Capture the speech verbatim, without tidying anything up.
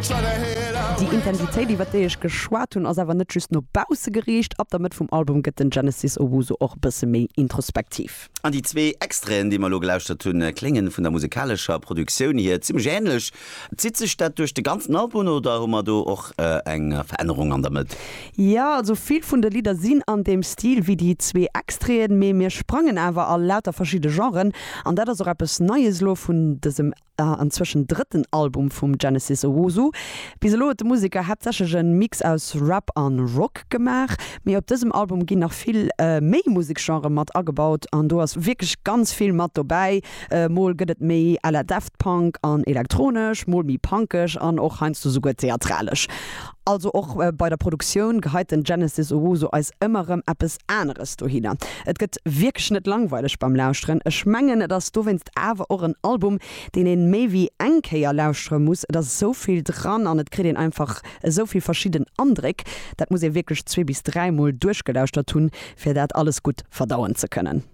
Déi Intensitéit, iwwer déi ech geschwat hunn, ass awer net just no bausse geriicht. Ab der Mëtt vum Album gëtt den Genesis Owusu och e bësse méi introspektiv. An déi zwee Extraiten, déi mer elo gelauschtert hunn, kléngen vun der musikalescher Produktioun hier zimmlech änlech. Zitt sech dat duerch de ganzen Album oder hu mer do och eng Verännerung an der Mëtt? Jo, also vill vun de Lidder sinn an deem Stil wéi déi zwee Extraiten, mee mir sprangen awer a lauter verschidde Genren an dat ass och eppes Neies elo vun dësem anzwëschen drëtten Album vum Genesis Owusu. Bis elo huet de Museker haaptsächlech e Mix aus Rap an Rock gemaach, mee op dësem Album ginn nach vill méi Museksgenre mat agebaut an do ass wierklech ganz vill mat dobäi. Mol gëtt et méi à la Daft Punk an elektronesch, mol méi punkeg an och heiansdo souguer theatralesch. Also och bei der Produktioun geheit den Genesis Owusu eis ëmmer erëm eppes aneres dohinner. Et gëtt wierklech net langweileg beim Lauschteren. Ech mengen et ass dowéinst awer och en Album, deen een méi wéi eng Kéier lauschtere muss. Et ass esou vill dran an et kritt een einfach esou vill verschidden Andréck. Dat muss ee wierklech zwee bis dräi Mol duerchgelauschtert hunn, fir dat alles gutt verdauen ze kënnen.